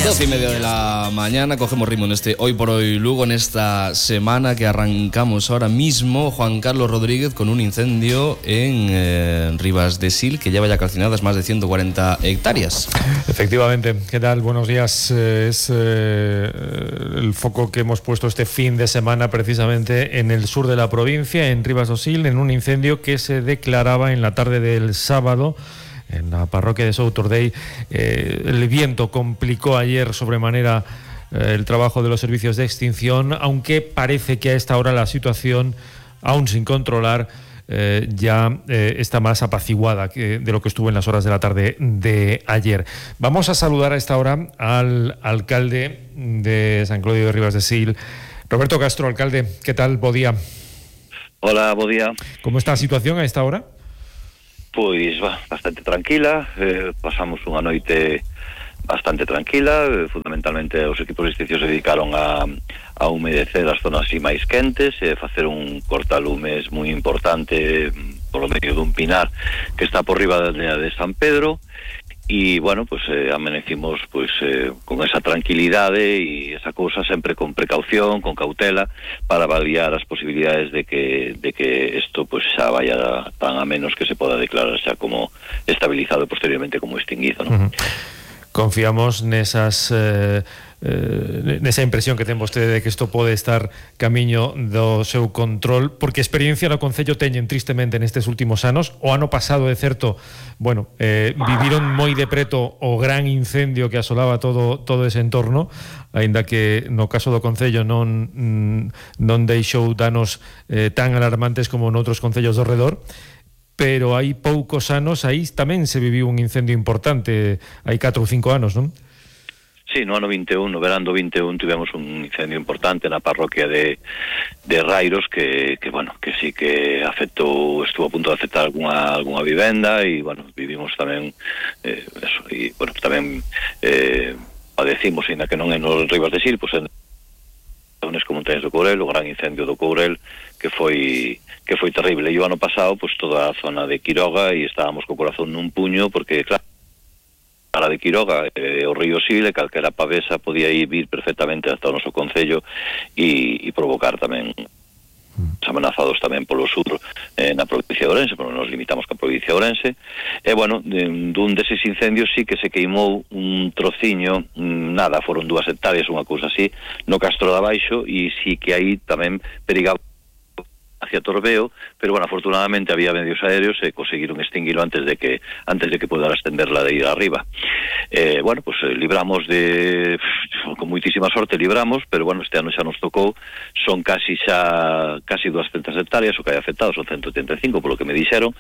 12:30 de la mañana, cogemos ritmo en este Hoy por Hoy Lugo, en esta semana que arrancamos ahora mismo. Juan Carlos Rodríguez, con un incendio en Rivas de Sil que lleva ya calcinadas más de 140 hectáreas. Efectivamente, ¿qué tal? Buenos días. Es el foco que hemos puesto este fin de semana precisamente en el sur de la provincia, en Rivas de Sil, en un incendio que se declaraba en la tarde del sábado en la parroquia de Soutordey. El viento complicó ayer sobremanera el trabajo de los servicios de extinción, aunque parece que a esta hora la situación, aún sin controlar, ya está más apaciguada de lo que estuvo en las horas de la tarde de ayer. Vamos a saludar a esta hora al alcalde de San Clodio de Rivas de Sil, Roberto Castro. Alcalde, ¿qué tal? Bo día. Hola, bo día. ¿Cómo está la situación a esta hora? Pois bastante tranquila, pasamos unha noite bastante tranquila, fundamentalmente os equipos de extinción se dedicaron a humedecer as zonas así máis quentes, facer un cortalumes moi importante polo medio dun pinar que está por riba da aldea de San Pedro. E, bueno, pues amanecimos pues con esa tranquilidade e esa cousa sempre con precaución, con cautela, para avaliar as posibilidades de que isto pues xa vaya tan a menos que se poda declarar xa como estabilizado e posteriormente como extinguido, ¿no? Confiamos nesas nesa impresión que ten vostede de que isto pode estar camiño do seu control, porque experiencia no Concello teñen tristemente nestes últimos anos. O ano pasado, é certo, bueno, viviron moi de preto o gran incendio que asolaba todo ese entorno, aínda que no caso do Concello non deixou danos tan alarmantes como noutros concellos do redor. Pero hai poucos anos aí tamén se viviu un incendio importante, hai 4 ou 5 anos, non? Sí, no ano 21, no verano 21 tivemos un incendio importante na parroquia de Rairos que bueno, que sí que afectou, estuvo a punto de afectar algunha vivenda e, bueno, vivimos tamén eso, e, bueno, tamén padecimos, ainda que non en os Rivas de Sil, pues en zonas como Montañas do Courel, o gran incendio do Courel que foi terrible. E o ano pasado, pues toda a zona de Quiroga, e estábamos co corazón nun puño, porque claro, a de Quiroga, o río Sil, e calquera pavesa podía ir perfectamente hasta o noso concello e provocar tamén amenazados tamén polo sur na provincia de Ourense, pero nos limitamos ca provincia de Ourense. E, bueno, dun deses incendios sí que se queimou un trociño, nada, foron 2 hectáreas, unha cousa así, no Castro de Abaixo, e sí que aí tamén perigaba hacia Torbeo, pero, bueno, afortunadamente había medios aéreos e conseguiron extinguilo antes de que podara extenderla de ir arriba. Bueno, pues libramos con moitísima sorte libramos, pero, bueno, este ano xa nos tocou, son casi 200 hectáreas o que hai afectado, son 185 polo que me dixeron.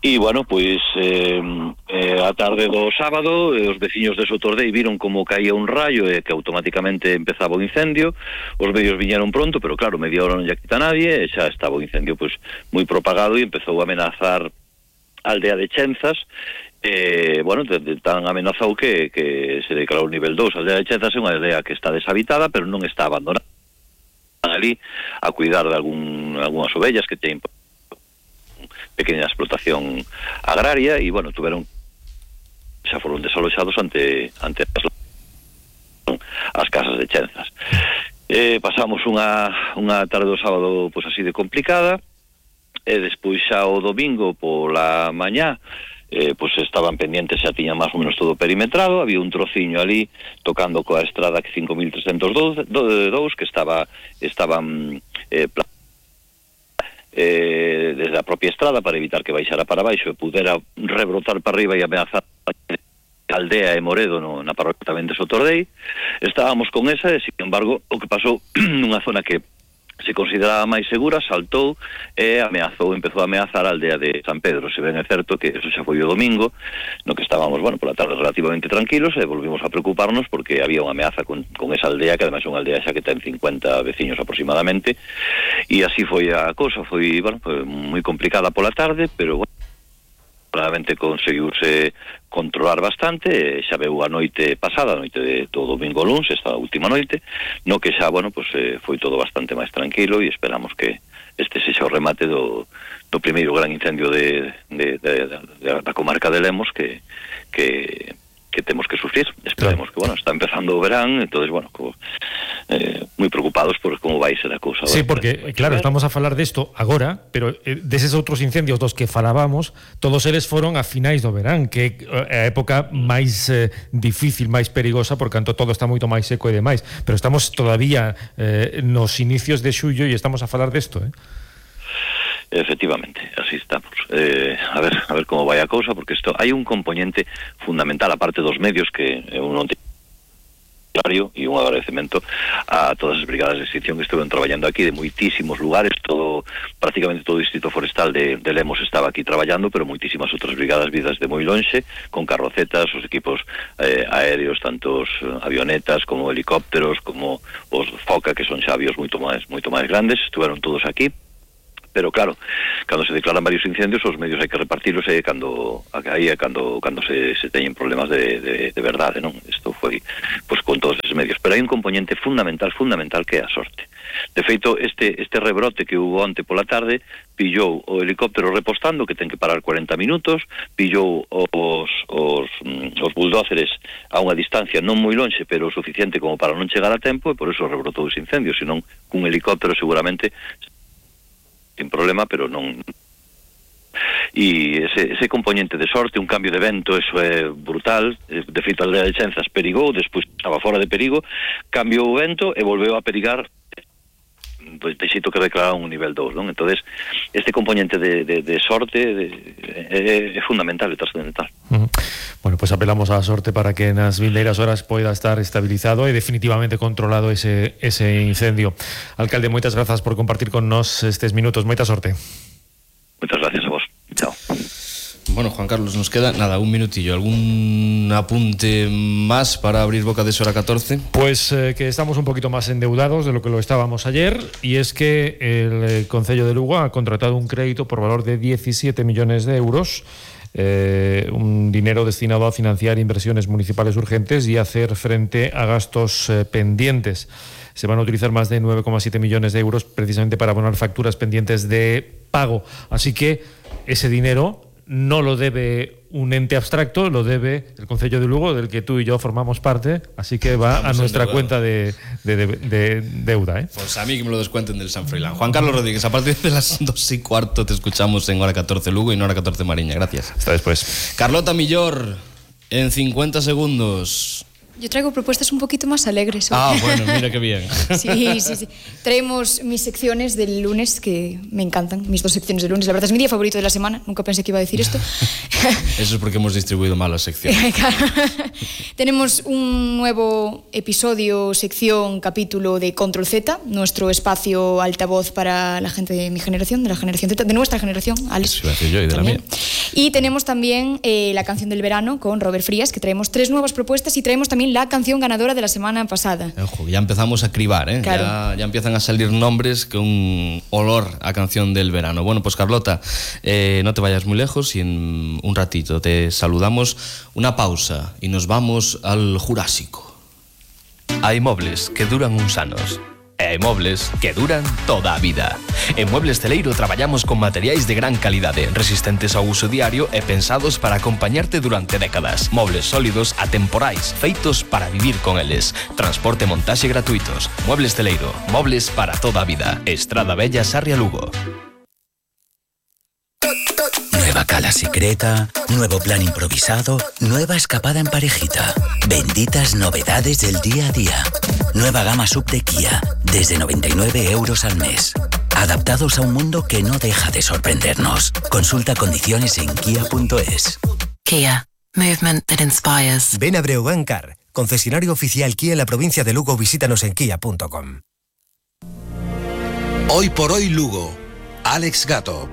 E, bueno, pues a tarde do sábado os veciños de Soutordey viron como caía un rayo e que automáticamente empezaba o incendio. Os medios viñeron pronto, pero, claro, media hora non lle quita nadie, e xa estaba o incendio pues moi propagado e empezou a amenazar a aldea de Chenzas. Bueno, tan amenazou que se declarou nivel 2. A aldea de Chenzas é unha aldea que está deshabitada, pero non está abandonada. Están ali a cuidar de algunhas ovellas que teñen pequena explotación agraria e, bueno, xa foron desaloxados ante as casas de Chenzas. Pasamos unha tarde do sábado pois así de complicada, e despois xa o domingo pola mañá pois estaban pendientes, xa tiña máis ou menos todo perimetrado, había un trociño ali tocando coa estrada 5302 que estaban desde a propia estrada para evitar que baixara para baixo e pudera rebrotar para arriba e ameazar Aldea e Moredo na parroquia tamén de Soutordey. Estábamos con esa e, sin embargo, o que pasou nunha zona que se consideraba máis segura, saltou e empezou a ameazar a aldea de San Pedro. Se ben é certo que eso xa foi o domingo, no que estábamos, bueno, pola tarde relativamente tranquilos, e volvimos a preocuparnos porque había unha ameaza con esa aldea, que ademais é unha aldea xa que ten 50 veciños aproximadamente, e así foi a cousa. Foi moi complicada pola tarde, pero, bueno, realmente conseguiuse controlar bastante. Xa veu a noite pasada, a noite do domingo ao luns, esta última noite, no que xa, bueno, pues foi todo bastante máis tranquilo, e esperamos que este sexa o remate do primeiro gran incendio da comarca de Lemos que temos que sufrir. Esperemos que, bueno, está empezando chegando o verán, entonces, bueno, moi preocupados por como vai ser a cousa. Sí, porque, claro, estamos a falar desto agora, pero deses outros incendios dos que falábamos, todos eles foron a finais do verán, que é a época máis difícil, máis perigosa, por canto todo está moito máis seco e demais, pero estamos todavía nos inicios de xullo e estamos a falar desto, Efectivamente, así estamos. A ver como vai a cousa, porque isto hai un componente fundamental, aparte dos medios, que eu non teño, e un agradecemento a todas as brigadas de extinción que estuven traballando aquí de moitísimos lugares, prácticamente todo o distrito forestal de Lemos estaba aquí traballando, pero moitísimas outras brigadas vidas de moi lonxe, con carrocetas, os equipos aéreos, tanto os avionetas como helicópteros, como os Foca, que son xa avións moito máis grandes, estuveron todos aquí. Pero claro, cando se declaran varios incendios, os medios hai que repartirlos cando se teñen problemas de verdade, non? Isto foi pois con todos esos medios, pero hai un componente fundamental que é a sorte. De feito, este rebrote que hubo onte pola tarde pillou o helicóptero repostando, que ten que parar 40 minutos, pillou os bulldóceres a unha distancia non moi lonxe, pero o suficiente como para non chegar a tempo, e por eso rebrotou os incendios, senón cun helicóptero seguramente sin problema, pero non. E ese componente de sorte, un cambio de vento, eso é brutal. De feito, a aldea de Chenzas perigou, despois estaba fora de perigo, cambiou o vento e volveu a perigar, de xeito que declararon un nivel 2, non? Entonces, este componente de sorte é fundamental e trascendental. Bueno, pues apelamos á sorte para que nas vindeiras horas poida estar estabilizado e definitivamente controlado ese incendio. Alcalde, moitas grazas por compartir con nos estes minutos. Moita sorte. Moitas gracias a vos. Chao. Bueno, Juan Carlos, nos queda nada, un minutillo. ¿Algún apunte más para abrir boca de hora 14? Pues que estamos un poquito más endeudados de lo que lo estábamos ayer, y es que el Concello de Lugo ha contratado un crédito por valor de 17 millones de euros, un dinero destinado a financiar inversiones municipales urgentes y hacer frente a gastos pendientes. Se van a utilizar más de 9,7 millones de euros precisamente para abonar facturas pendientes de pago. Así que ese dinero no lo debe un ente abstracto, lo debe el Concello de Lugo, del que tú y yo formamos parte, así que va a nuestra cuenta de deuda. Pues a mí que me lo descuenten del San Froilán. Juan Carlos Rodríguez, a partir de las 2:15 te escuchamos en Hora 14 Lugo y en Hora 14 Mariña. Gracias. Hasta después. Carlota Millor, en 50 segundos. Yo traigo propuestas un poquito más alegres. Ah, bueno, mira qué bien. Sí. Traemos mis secciones del lunes, que me encantan, mis dos secciones del lunes. La verdad es mi día favorito de la semana, nunca pensé que iba a decir esto. Eso es porque hemos distribuido mal las secciones. Claro. Tenemos un nuevo episodio, sección, capítulo de Control Z, nuestro espacio altavoz para la gente de mi generación, de la generación Z, de nuestra generación, Alex. Eso yo y de también. La mía. Y tenemos también la canción del verano con Robert Frías, que traemos 3 nuevas propuestas, y traemos también la canción ganadora de la semana pasada. Ojo, ya empezamos a cribar, ¿eh? Claro. Ya empiezan a salir nombres con olor a canción del verano. Bueno, pues Carlota, no te vayas muy lejos y en un ratito te saludamos. Una pausa y nos vamos al Jurásico. Hay mobles que duran uns anos. E hai mobles que duran toda a vida. En Muebles Celeiro traballamos con materiais de gran calidade, resistentes ao uso diario e pensados para acompañarte durante décadas. Mobles sólidos, atemporais, feitos para vivir con eles. Transporte e montaxe gratuitos. Muebles Celeiro, mobles para toda a vida. Estrada Bella, Sarria, Lugo. Nueva cala secreta, nuevo plan improvisado, nueva escapada en parejita. Benditas novedades del día a día. Nueva gama sub de Kia, desde 99 euros al mes. Adaptados a un mundo que no deja de sorprendernos. Consulta condiciones en kia.es. Kia, movement that inspires. Ven a Breogán Car, concesionario oficial Kia en la provincia de Lugo. Visítanos en kia.com. Hoy por hoy Lugo, Alex Gato.